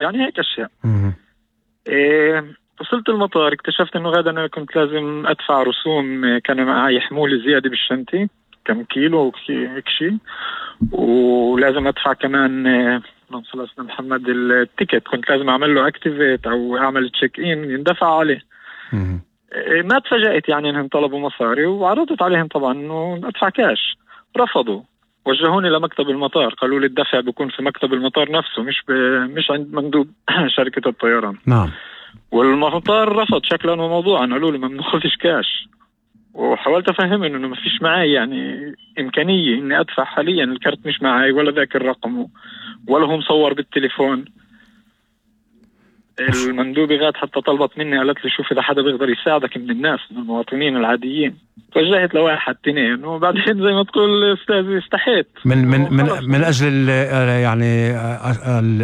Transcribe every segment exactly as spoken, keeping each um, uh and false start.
يعني هيك أشياء. مم. إيه وصلت المطار اكتشفت إنه غدا أنا كنت لازم أدفع رسوم، كان معي حمولة زيادة بالشنطة كم كيلو هيك شيء، ولازم أدفع كمان اللهم صل على سيدنا محمد التيكت، كنت لازم أعمل له أكتيفيت أو أعمل تشيك إن يندفع عليه. مم. إيه ما تفاجأت يعني إنهم طلبوا مصاري، وعرضت عليهم طبعا إنه أدفع كاش، رفضوا، وجهوني لمكتب المطار، قالوا لي الدفع بيكون في مكتب المطار نفسه مش ب... مش عند مندوب شركة الطيران. نعم. والمطار رفض شكلا وموضوعا، قالوا لي ما بناخذش كاش. وحاولت افهمهم انه ما فيش معي يعني امكانيه اني ادفع حاليا، الكرت مش معي ولا ذاك الرقم ولا هو مصور بالتليفون. المندوبة غاد حتى طلبت مني، قالت لي شوف اذا حدا بيقدر يساعدك من الناس من المواطنين العاديين. توجهت لواحد اثنين، وبعدين زي ما تقول استاذ استحيت من من من من اجل يعني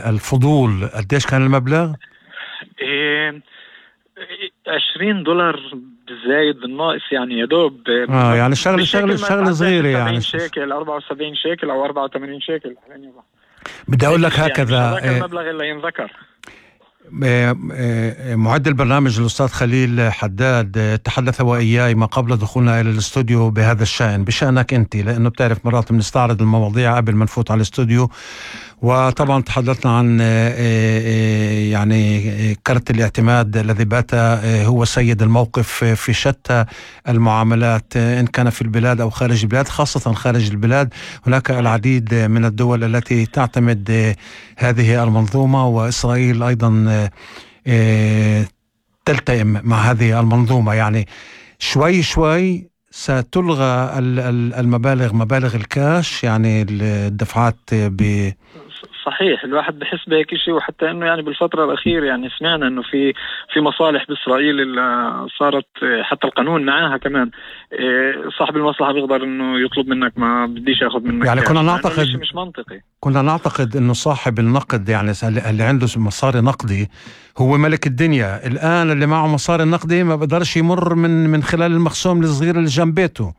الفضول. قديش كان المبلغ؟ إيه عشرين دولار بالزايد بالناقص يعني يا دوب. اه يعني شغله شغله شغله صغيره يعني شيكل أربعة وسبعين شيكل او أربعة وثمانين شيكل. بدي اقول لك هكذا يعني المبلغ اللي ينذكر. معد البرنامج الأستاذ خليل حداد تحدث وإياي ما قبل دخولنا إلى الاستوديو بهذا الشأن، بشأنك أنت، لأنه بتعرف مرات بنستعرض المواضيع قبل ما نفوت على الاستوديو. وطبعا تحدثنا عن يعني كرت الاعتماد الذي بات هو سيد الموقف في شتى المعاملات، إن كان في البلاد أو خارج البلاد، خاصة خارج البلاد. هناك العديد من الدول التي تعتمد هذه المنظومة، وإسرائيل أيضا تلتئم مع هذه المنظومة. يعني شوي شوي ستلغى المبالغ، مبالغ الكاش، يعني الدفعات ب صحيح. الواحد بحس بهيك شيء، وحتى انه يعني بالفترة الأخيرة يعني سمعنا انه في في مصالح بإسرائيل اللي صارت حتى القانون معاها كمان صاحب المصلحة بيقدر انه يطلب منك ما بديش ياخذ منك. يعني كنا نعتقد مش منطقي، كنا نعتقد انه صاحب النقد يعني اللي عنده مصاري نقدي هو ملك الدنيا. الآن اللي معه مصاري نقدي ما بقدرش يمر من من خلال المخزون الصغير اللي جنب بيته.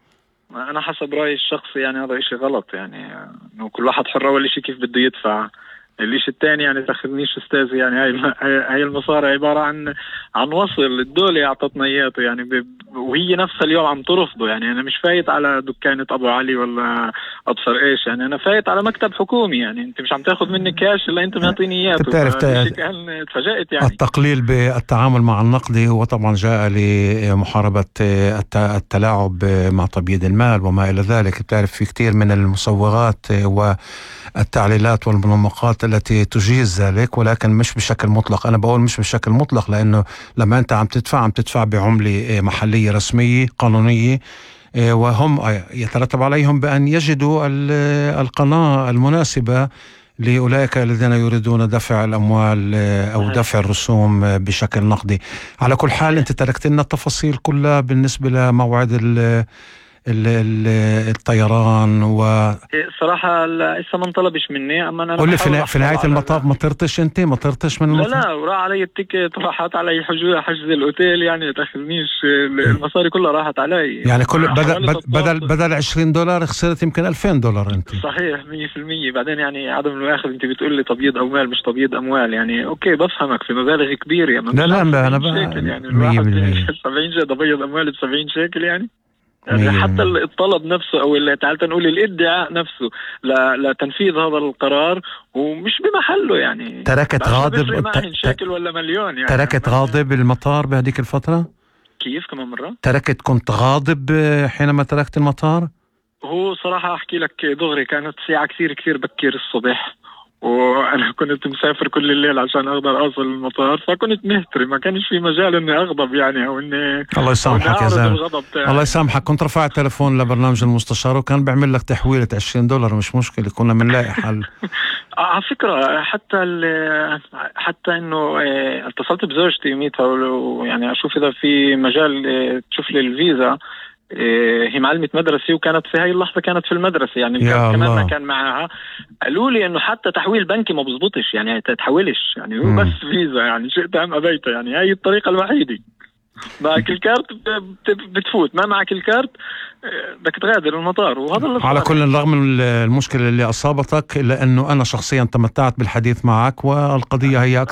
أنا حسب رأيي الشخصي يعني هذا إشي غلط، يعني إنه كل واحد حر أول إشي كيف بده يدفع. الإشي الثاني يعني تاخذنيش أستاذي، يعني هاي هاي المصاري عبارة عن عن وصل الدولة أعطتنا إياته يعني ب... وهي نفسها اليوم عم ترفضه. يعني أنا مش فايت على دكانة أبو علي ولا أبصر إيش، يعني أنا فايت على مكتب حكومي. يعني أنت مش عم تاخذ مني كاش إلا أنت معطيني إياته. بتعرف تفاجأت يعني. التقليل بالتعامل مع النقدي هو طبعا جاء لمحاربة التلاعب مع تبييض المال وما إلى ذلك. بتعرف في كثير من المصوغات والتعليلات والمنمقات التي تجيز ذلك، ولكن مش بشكل مطلق. أنا بقول مش بشكل مطلق لأنه لما أنت عم تدفع عم تدفع بعملة محلية رسمية قانونية، وهم يترتب عليهم بأن يجدوا القناة المناسبة لأولئك الذين يريدون دفع الأموال أو دفع الرسوم بشكل نقدي. على كل حال أنت تركت لنا التفاصيل كلها بالنسبة لموعد ال الطيران. و صراحة لسه ما انطلبش مني. أما أنا قل لي في, في نهاية المطاف ما طرتش أنت؟ ما طرتش من المطاف؟ لا لا، وراح علي التيكت، راحت علي حجوز حجز الأوتيل، يعني تاخذنيش المصاري كلها راحت علي. يعني كل بدل بدل بدل عشرين دولار خسرت يمكن ألفين دولار أنت. صحيح مية في المية. بعدين يعني عدم المؤاخذة أنت بتقول لي تبييض أموال مش تبييض أموال، يعني أوكي بفهمك في مبالغ كبيرة. يعني لا لا لا أنا بقى يعني الواحد سبعين شيء تبييض أموال بسبعين شيكل يعني. يعني حتى الطلب نفسه او اللي تعال نقول الادعاء نفسه لتنفيذ هذا القرار ومش بمحله. يعني تركت غاضب ت... شكل ولا مليون يعني. تركت غاضب المطار بهذيك الفترة؟ كيف كمان مرة؟ تركت كنت غاضب حينما تركت المطار؟ هو صراحة احكي لك دغري، كانت ساعة كثير كثير بكير الصبح، وانا كنت مسافر كل الليل عشان اقدر اوصل المطار، فكنت مهتري، ما كانش في مجال اني اغضب يعني او اني الله يسامحك يا زلمه. الله يسامحك. كنت رفعت تلفون لبرنامج المستشار وكان بيعمل لك تحويلة عشرين دولار، مش مشكلة، كنا بنلاقي حل. على فكرة حتى حتى انه اتصلت بزوجتي يوميتها يعني اشوف اذا في مجال تشوف لي الفيزا. هي معلمة مدرسة وكانت في هاي اللحظة كانت في المدرسة، يعني كمان ما كان معها. قالوا لي انه حتى تحويل بنكي ما بزبطش، يعني تتحولش، يعني هو بس فيزا، يعني شئت ام ابيت، يعني هاي الطريقة الوحيدة. معك الكارت بتفوت، ما معك الكارت بدك تغادر المطار. وهذا اللي على كل رغم من المشكلة اللي أصابتك، إلا أنه أنا شخصيا تمتعت بالحديث معك، والقضية هي